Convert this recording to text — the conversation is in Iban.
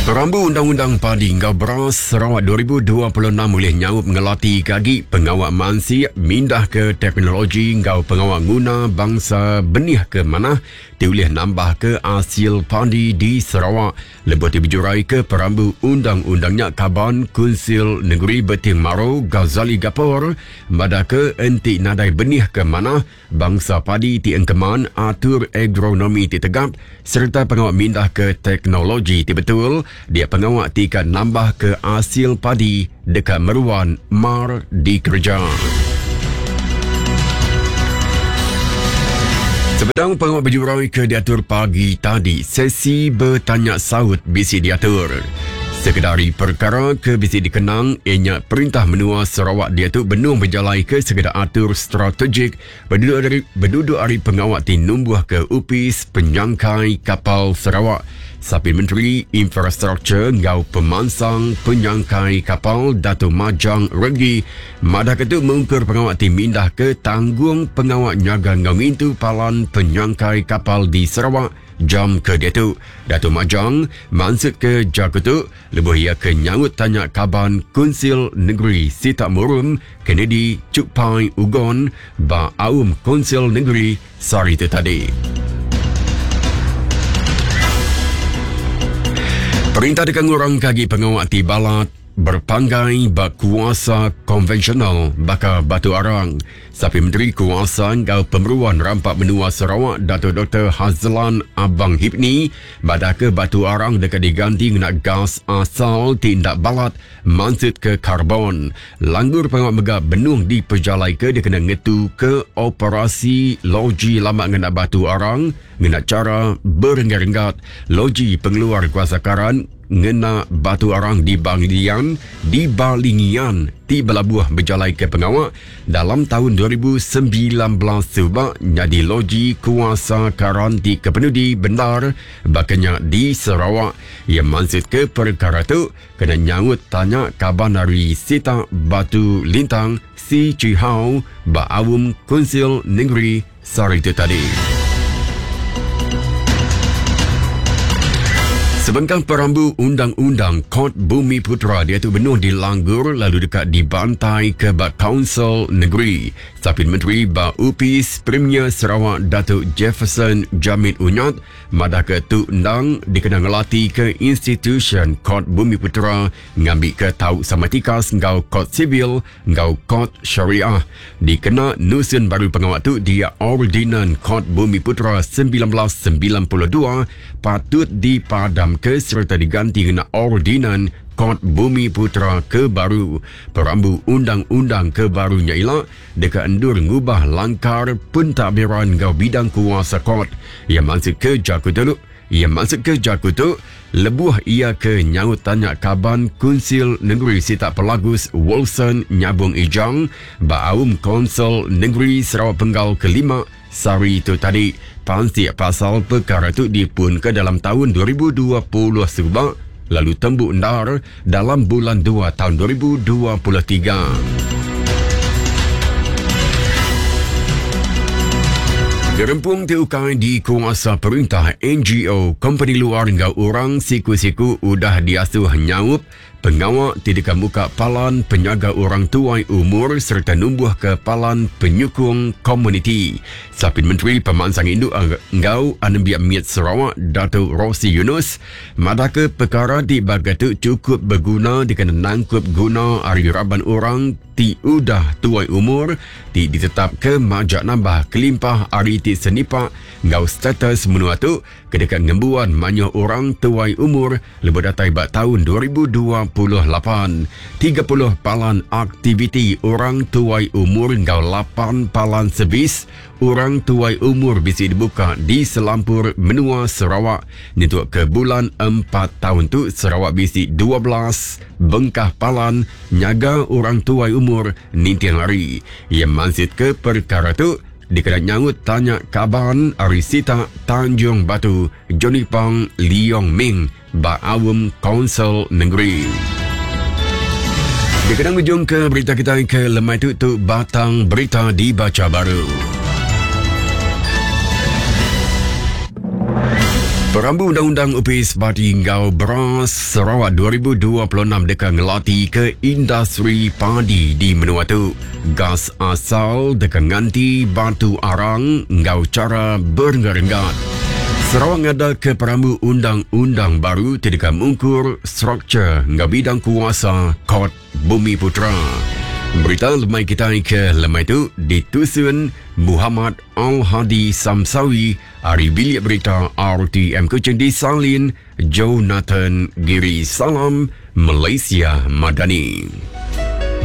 Perambu Undang-Undang Padi enggau Beras Sarawak 2026 ulih nyaup ngelati ke agi pengawa mansik, mindah ke teknologi enggau pengawa nguna bangsa benih ke manah ti ulih nambahka asil padi di Sarawak. Lebuh ti bejuraika perambu undang-undang nya Kaban Kunsil Nengeri Beting Maro Ghazali Gapor madahka enti nadai benih ke manah, bangsa padi ti engkeman, atur agronomi ti tegap sereta pengawa mindahka teknologi ti betul dia pengawa ti ka nambahka asil padi deka meruan mar dikereja. Sebedau pengawa bejurai ke diatur pagi tadi, sesi betanya saut bisi diatur. Sekeda ari perkara ke bisi dikenang iya nya perintah menua Sarawak diatu benung bejalaika sekeda atur strategik beduduk ari beduduk ari pengawa ti numbuhka Opis Penyangkai Kapal Sarawak. Sapit Menteri Infrastruktur enggau Pemansang Penyangkai Kapal Dato Majang Renggi madahka tu mungkur pengawa ti mindahka tanggung pengawa nyaga enggau ngintu palan penyangkai kapal di Sarawak jam ke diatu. Dato Majang mansutka jaku tu lebuh iya ke nyaut tanya kaban Kunsil Nengeri Sitak Murum Kennedy Chukpai Ugon ba Aum Kunsil Nengeri sehari tu tadi. Perintah deka ngurangka agi pengawa ti balat berpanggai ba kuasa konvensional baka batu arang. Sapi Menteri Kuasa enggau Pemeruan Rampa Menua Sarawak Datuk Dr. Hazlan Abang Hipni madahka batu arang deka diganti ngena gas asal ti enda balat mansutka karbon. Langgur pengawa mega benung dipejalaika dikena ngetuka operasi loji lama ngena batu arang ngena chara berenggat-renggat. Loji pengeluar kuasa karan ngena batu arang di Balingian di Balingian ti belabuh bejalaika pengawa dalam taun 2019 suba nyadi loji kuasa karan ti kepenudi bendar baka nya di Sarawak. Iya mansutka perkara tu Kena nyaut tanya kaban ari sitak Batu Lintang Si Chee How ba aum Kunsil Nengeri sehari tu tadi. Sebengkah perambu undang-undang Kort Bumi Putera diatu benung dilanggur lalu deka dibantai ke ba Kaunsil Negeri. Sapit Menteri ba Opis Premier Sarawak Datuk Jefferson Jamit Unyat Madahka tu endang dikena ngelatika institusyen Kort Bumiputera ngambika tau sama tikas enggau Kort Sivil enggau Kort Syariah. Dikena nusun baru pengawa tu dia Ordinan Kort Bumiputera 1992 patut dipadamka sereta diganti ngena Ordinan Kort Bumiputera ke baru. Perambu undang-undang ke baru nya ila deka endur ngubah langkar pentadbiran enggau bidang kuasa kort. Iya mansutka jaku tu iya mansutka jaku tu lebuh iya ke nyaut tanya kaban Kunsil Nengeri Sitak Pelagus Wilson Nyabong Ijang ba aum Kaunsil Nengeri Sarawak Penggal Kelima sehari tu tadi. Pansik pasal pekara tu dipunka dalam taun 2020 suba lalu tembu endar dalam bulan dua taun 2023. Gerempung ti ukai dikuasa perintah, NGO, kompeni luar enggau orang siku-siku udah diasuh nyaup Pengawa ti deka muka palan penyaga orang tuai umur sereta numbuhka palan penyukung komuniti. Sapit Menteri Pemansang Indu enggau Anembiak Mit Sarawak Datuk Rosey Yunus madahka pekara ti baka tu chukup beguna dikena nangkup guna ari raban orang ti udah tuai umur ti ditetapka majak nambah kelimpah ari ti senipak enggau status menua tu ke deka ngembuan mayuh orang tuai umur lebuh datai ba taun 2028. 30 palan aktiviti orang tuai umur enggau lapan palan servis orang tuai umur bisi dibuka di selampur menua Sarawak. Nyentuk ke bulan empat taun tu, Sarawak bisi 12 bengkah palan nyaga orang tuai umur ninting hari. Iya mansitka perkara tu dikena nyaut tanya kaban ari sitak Tanjung Batu, Johnny Pang Leong Ming ba aum Kaunsil Nengeri. Dikena ngujungka berita kitai ke lemai tu tu batang berita dibacha baru. Perambu Undang-Undang Opis Padi enggau Beras Sarawak 2026 deka ngelati ke industri padi di menua tu. Gas asal deka nganti batu arang enggau chara berenggat-renggat. Sarawak ngadaka perambu undang-undang baru ti deka mungkur struktur enggau bidang kuasa Kort Bumiputera. Berita lemai kitai ke lemai tu ditusun Muhammad Al-Hadi Samsawi ari Bilik Berita RTM Kuching disalin Jonathan Giri. Salam Malaysia Madani.